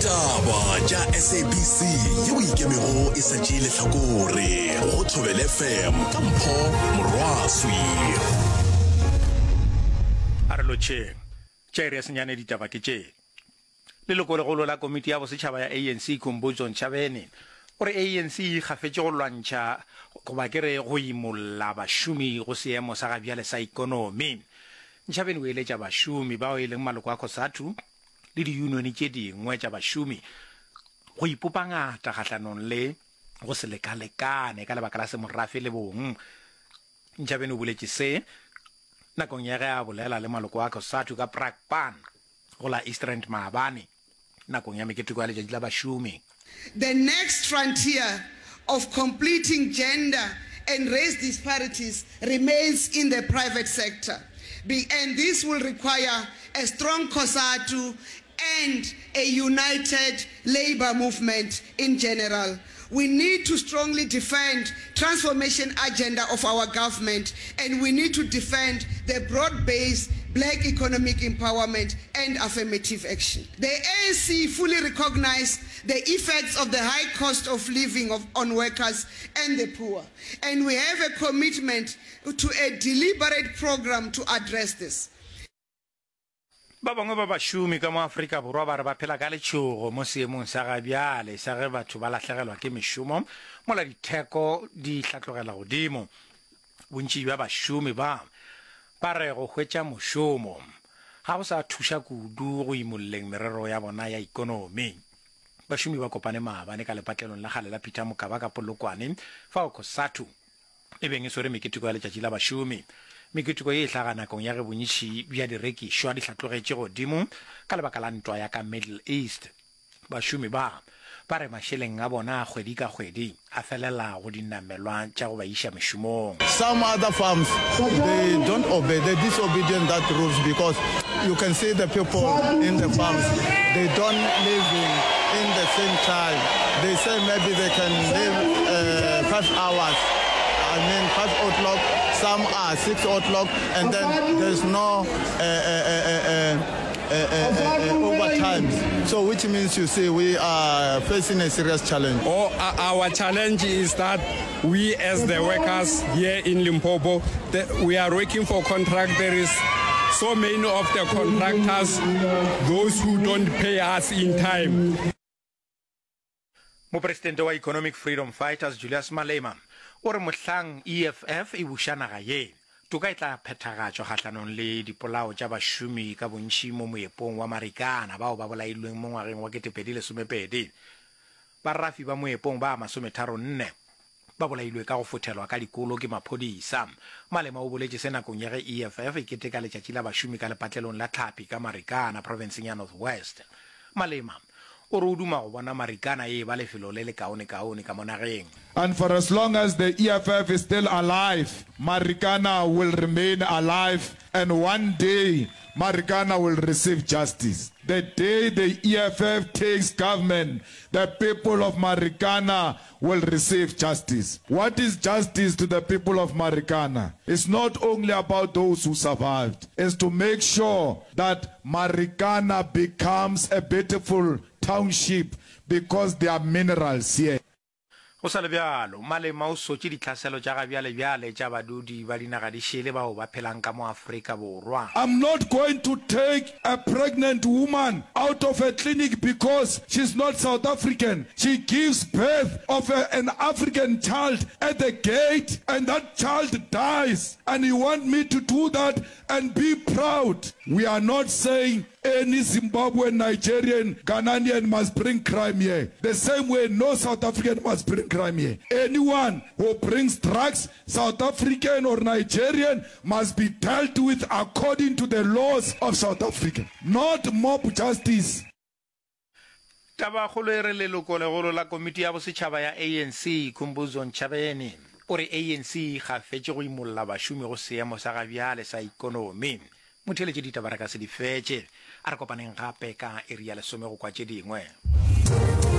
Ditaba tša SABC yeo e ikemego e sa tšee lehlakore go Thobela FM ka Mpho Morwaswi. A re lotšheng. Tša iri ya senyane ditaba ke tše. Lelokolegolo la komiti ya bosetšhaba ya ANC Khumbudzo Ntshavheni o re ANC e ikgafetše go lwantšha goba ke re go imolla bašomi go seemo sa gabjale sa ikonomi. Ntshavheni o eletša bašomi bao e leng maloko a Cosatu le diyunione tše dingwe tša bašomi go ipopa ngata kgahlanong le go se lekalekane ka lebaka la semorafe le bong. Ntshavheni o boletše se nakong ya ge a bolela le maloko a Cosatu ka Brakpan go la East Rand maabane nakong ya meketeko ya Letšatši la Bašomi. The next frontier of completing gender and race disparities remains in the private sector, and this will require a strong COSATU and a united labour movement in general. We need to strongly defend transformation agenda of our government and we need to defend the broad-based black economic empowerment and affirmative action. The ANC fully recognise the effects of the high cost of living of, on workers and the poor and we have a commitment to a deliberate programme to address this. Ba bangwe ba bašomi ka mo Afrika Borwa ba re ba phela ka letšhogo mo seemong sa ga bjale sa ge batho ba lahlegelwa ke mešomo mola ditheko di hlatlogela godimo. Bontši bja bašomi ba ba re go hwetša mošomo ga go sa thuša kudu go imolleng merero ya bona ya ikonomi. Bašomi ba kopane maabane ka lepatlelong la kgale la Peter Mokaba ka Polokwane fao Cosatu e beng e swere meketeko ya Letšatši la Bašomi. Meketeko ye e hlaga nakong ya ge bontši bja direkišwa di hlatlogetše godimo ka lebaka la ntwa ya ka Middle East. Bašomi ba ba re mašeleng a bona a kgwedi ka kgwedi a felela go dinamelwa tša go ba iša mešomong. Some other farms they don't obey, they disobedient that rules because you can see the people in the farms they don't living in the same time. They say maybe they can live uh, five hours. I mean five o'clock, some are six o'clock, and then there's no uh, uh, uh, uh, uh, uh, uh, overtimes. So which means you see we are facing a serious challenge. Oh, our challenge is that we as the workers here in Limpopo, the, we are working for contract. There is so many of the contractors, those who don't pay us in time. Mopresidente wa Economic Freedom Fighters Julius Malema o re mohlang EFF e buša naga ye, toka e tla phethagatšwa kgahlanong le dipolao tša bašomi ka bontši mo moepong wa Marikana bao ba bolailweng mo ngwageng wa 2012. Barafi ba moepong ba masometharonne ba bolailwe ka go fothelwa ka dikolo ke maphodisa. Malema o boletše se nakong ya ge EFF e keteka letšatši la bašomi ka lepatlelong la tlhapi ka Marikana, profenseng ya North West. Malema o re o duma go bona Marikana e eba lefelo le lekaonekaone ka mo nageng. And for as long as the EFF is still alive, Marikana will remain alive and one day Marikana will receive justice. The day the EFF takes government, the people of Marikana will receive justice. What is justice to the people of Marikana? It's not only about those who survived. It's to make sure that Marikana becomes a beautiful township because there are minerals here. Go sa le bjalo, Malema o sotše ditlhaselo tša gabjalebjale tša badudi ba dinaga di šele bao ba phelang ka mo Afrika Borwa. I'm not going to take a pregnant woman out of a clinic because she's not South African. She gives birth of a, an African child at the gate and that child dies and you want me to do that and be proud? We are not saying Any Zimbabwean, Nigerian, Ghananian must bring crime here. The same way no South African must bring crime here. Anyone who brings drugs, South African or Nigerian, must be dealt with according to the laws of South Africa, not mob justice. Tabakgolo e re lelokolegolo la komiti ya bosetšhaba ya ANC, Khumbudzo Ntshavheni, o re ANC e ikgafetše go imolla bašomi go seemo sa gabjale sa ikonomi. Motheeletši ditaba re ka se di fetše. A re kopaneng gape ka iri ya lesome go kwa tše dingwe.